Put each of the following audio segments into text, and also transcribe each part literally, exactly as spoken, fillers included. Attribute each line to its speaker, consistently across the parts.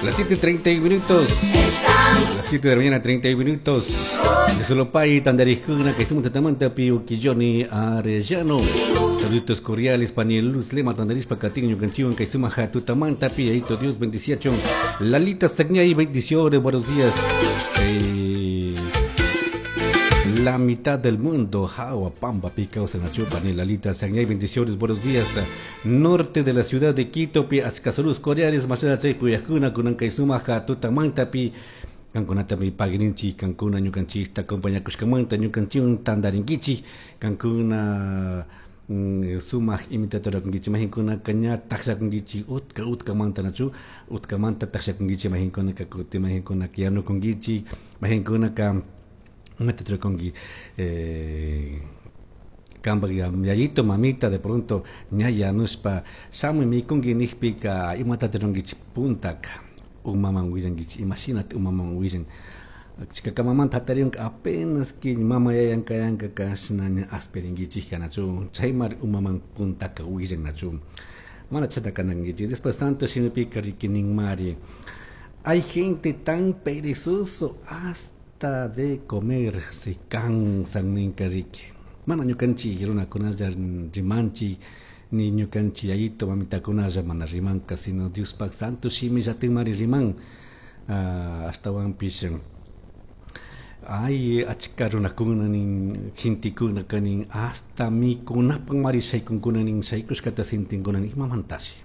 Speaker 1: Las siete treinta minutos. Las siete de la mañana, treinta minutos. De Solopay, Tandarijuna, que estamos tatamanta, Pio Quilloni, Arellano. Saluditos cordiales, Paniel Luz, Lema, Tandarispa, Catín, Ñucanchiwan, Kaisuma, Jatutamanta, Piaito, Dios bendiciachón. Lalita Sagñay, bendiciones, buenos días. Eh, la mitad del mundo, Jaua, Pamba, Picaos en la chupa, ni Lalita Sagñay, bendiciones, buenos días. Norte de la ciudad de Quito, Pi, Achcasaluz, Coreales, Masana, Chay, Puyajuna, Kunankaisuma, Jatutamanta, Pi, Kankunata mi pagrinchi, kankuna ñukanchista, compañía Kushkamanta, ñukanchiun, tandarinquichi, kankuna sumaj imitadora kunkichi, majinkuna kaña taksha kunkichi, utka utka manta nachu, utka manta taksha kunkichi, majinkuna kakuti, majinkuna kiyanu kunkichi, majinkuna ka mata kunki, eh, kamba yayito mamita de pronto ñaya nuspa shamu mi kunki nijpika imata ronkichi puntaka umaman willankichi, imagínate umaman willan chikakamamanta hatariunka apenas ki mama yayanka yanka kashna ña aspirinkichik nachu chaymari umaman puntaka willan nachu mana chata kanankichik. Después tanto shimipika rikininmari hay gente tan perezoso hasta de comer se cansan ninka riki mana ñukanchik runakunalla rimanchik ni ñukanchik yayito mamitakunalla mana rimanka sino Diospak santo shimi llatinmari riman uh, ashtawanpish ay achka runakuna nin gentekuna kanin hasta mikunapak mari shaykunkuna nin shaykushkata sintinkuna nin imamantashi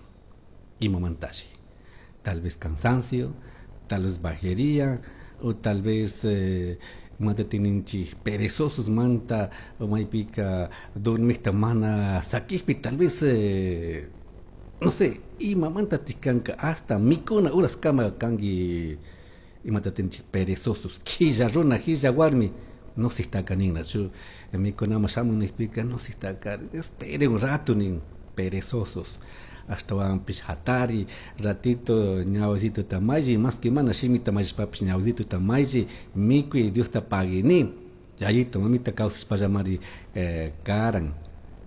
Speaker 1: imamantashi tal vez cansancio, tal vez bajería o tal vez eh, mata tininchik perezosos manta o maypika dormikta mana sakijpi tal vez eh, no sé imamanta tikanka hasta mikuna horas kama kanki imata tininchik perezosos quilla runa quilla warmi no se está kanin nachu mikunama shamun nijpika no se está espere un rato nin perezosos ashtawanpish hatari ratito ñawasito tamalli más que mana shimita mallishpapish ñawasito tamalli mikuy Diosta paguini yayito mamita kawsashpallamari eh, karan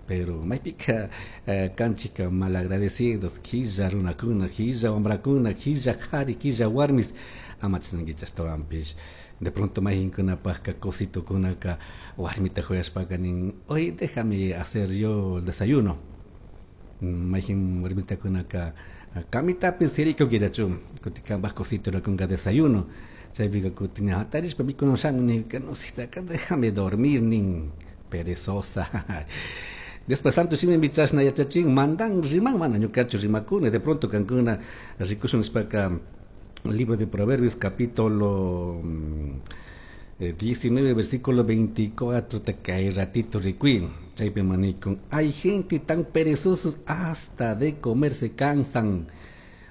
Speaker 1: pero maypika eh, kanchika malagradecidos quilla runakuna quilla wambrakuna quilla qhari quilla warmis ama chashnankichik ashtawanpish de pronto mayhinkunapajka cositokunaka warmita juyashpaka nin hoy déjame hacer yo el desayuno mayhin warmitakunaka kamitapis sirikunkirachu kutin kanpaj cosito rurakunka desayuno chaypika kutin hatarishpa mikuna shamun nirka no sitaka déjame dormir nin perezosa. Después santo shimi chashna yachachin mandan riman mana ñukachu rimakuni de pronto kankuna rikushun nishpaka libro de Proverbios capítulo diecinueve versículo veinticuatro te cae ratito rikuin chaypi manikun hay gente tan perezosos hasta de comer se cansan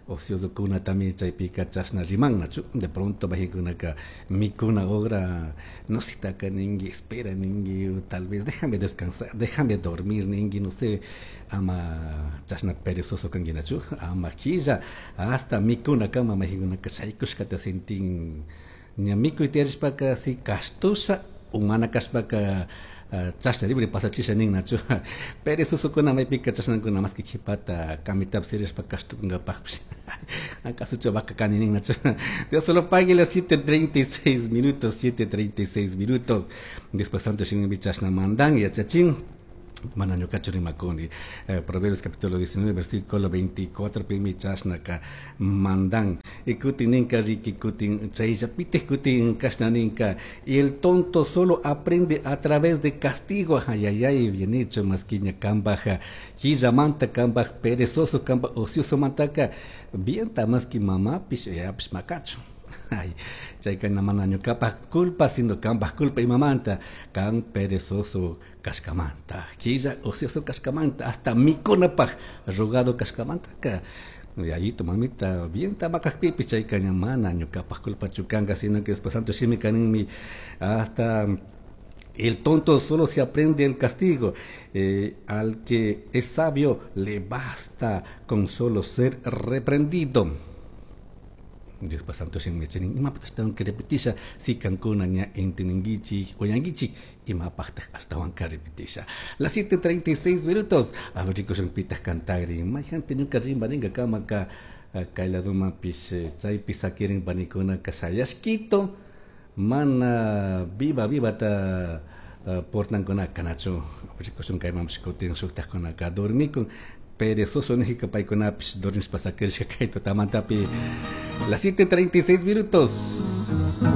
Speaker 1: ocioso kuna también chaypika chashna riman nachu de pronto majikunaka mikuna ogra no sitaka ningi espera ningi tal vez déjame descansar déjame dormir ningi no sé ama chashna perezoso kanki nachu ama quilla hasta mikuna kama majikunaka shaykushkata sentin ña mikuy tiyarishpaka si kashtusha umana kashpaka chashna libre pasachisha nin nachu perezosokuna maypika chashnakuna más que qhipata kamitapis sirishpa kashtukunkapaqpish acaso vaca kani nin nachu. Dios solo pague las siete treinta y seis minutos, siete treinta y seis minutos. Después tanto shimimi chashna mandan yachachin mana ñukachu rimakuni eh, Proverbios capítulo diecinueve versículo veinticuatro pimi chashnaka mandan y kutin ninka riki kutin chayllapitij kutin kashna ninka y el tonto solo aprende a través de castigo. Ay ay ay bien hecho más que ña kambaj quillamanta kambaj perezoso kambaj ocioso mantaka bien ta más que mamá pish yapish makachu. Ay, chayka mana ñukapak culpa sino kambaj culpa imamanta kan perezoso kashkamanta quilla ocioso kashkamanta hasta mikunapaj rogado kashkamanta ka yayito mamita bien tamakajpipi chayka ña mana ñukapak culpachu kanka sino que después santo shimi kaninmi hasta el tonto solo se aprende el castigo. Eh, al que es sabio le basta con solo ser reprendido. Dios santo shimi imapaq ashtawan repetisha si kankuna ña enteninkichik uyankichik imapaqtaq ashtawanka repetisha. Las siete treinta y seis minutos. A ver chicos pitaq cantagrin mayjante ñuka rimbarinka kamaka Kay ladumanpish chaypi sakirin panikunaka shayashkito mana viva vivata portankunaka nachu rikushun kaymanpish kutin shuktakkunaka dormikun perezoso nijika paykunapish dormishpa sakirishka kay tutamantapi. Las siete treinta y seis minutos.